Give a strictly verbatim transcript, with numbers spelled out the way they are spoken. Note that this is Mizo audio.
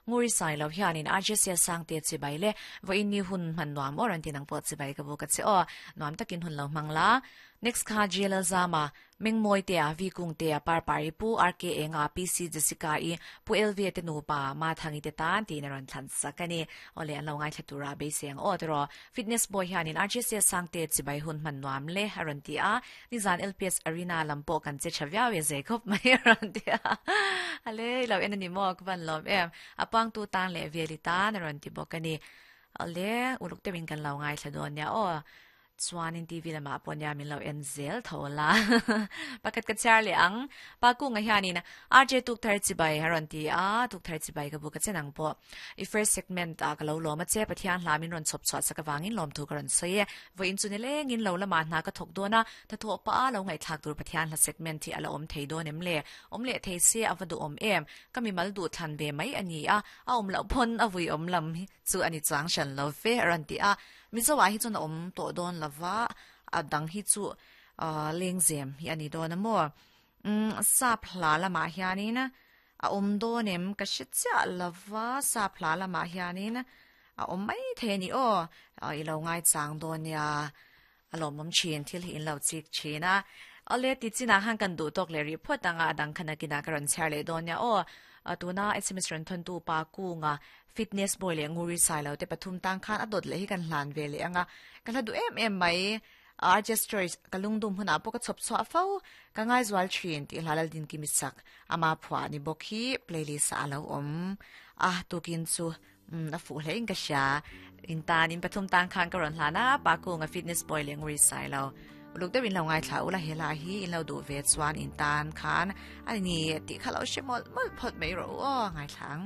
Nguri sai lo hianin R J C sang te chi bai le vo in ni hun man nuam oran tinang po chi bai ka bu ka che o nuam takin hun lo mangla. Next kha J L Zama Mengmoi te a vi kung te a par pari pu R K enga P C Jessica i pu L V te nu pa ma thangi te tan ti na ron thlan sakani ole an lo ngai thatura be seng o tro fitness boy hianin R J C sang te chi bai hun man nuam le aron ti a nizan L P S arena lampo kan che chavya we ze khop mai aron ti a ale lo en ni mo kwan lom em apang tu tan le velita na ron ti bokani ale uluk te min kan lo ngai thadon ya o chuanin T V lama pawh min lo en zel thola pakat ka charlie ang pa ku nga hianin R J tuk thar chi bai haron ti a tuk thar chi bai ka bu ka chenang po i first segment a ka lo lo ma che pathian hlamin ron chop chot saka wangin lom thu ka ron sei vo in chu ne leng in lo lama na ka thok dona ta tho pa lo ngai thak tur pathian hla segment thi ala om thei don em le om le thei se awadu om em kami mal du than ve mai ani a a om lo phon a vui om lam chu ani chang shan lo fe ron ti a mizo wa hi chun om to don lava a dang hi chu leng zem hi ani don mo um sa phla lama hianin a om donem ka shi cha lava sa phla lama hianin a om mai the ni o i lo ngai chang don ya alom mom chin thil hi in lo chik china ale ti china hang kan du tok le ri phot anga dang khana kina karon charle don ya o tuna S M S ran thon tu pa ku nga fitness boy le nguri sai lo te pathum tang khan adot le hi kan hlan ve le anga kan hadu em em mai R J stories kalung dum huna po ka chop chwa fo ka ngai zwal thin ti hlalal din ki misak ama phwa ni bokhi playlist alo om a tukin chu na fu hle in ka sha in tan in pathum tang khan ka ron hlana pa ku nga fitness boy le nguri sai lo luk te win lo ngai thla ula hela hi in lo du ve chuan in tan khan ani ti khalo shemol mol phot mai ro o ngai thlang.